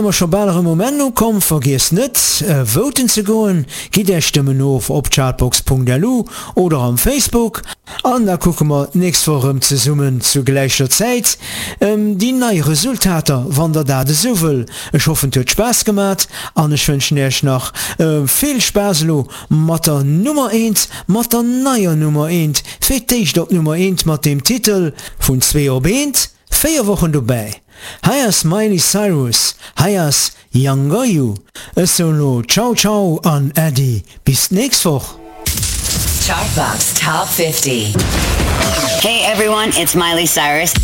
Mer scho bal erëm um Enn ukomm. Vergiesst net voten ze goen, gitt är Stëmmen of op chartbox.lu oder am Facebook an da kucke mer d'nächst Woch erëm zesummen zu gläicher Zäit déi nei Resultater, wann der dat esou wëll. Ech hoffen et huet Spaass gemat an ech wënschen äech nach vill Spaass elo mat der Nummer eent, mat der neier Nummer eent, fir d'éischt op Nummer eent mat deem Titel Vun zwee op eent. 4 Wochen dobäi, hei ass Miley Cyrus, hei ass Younger You. Ech soen lo Ciao ciao an Äddi bis d'nächst Woch. Chartbox Top 50. Hey everyone, it's Miley Cyrus.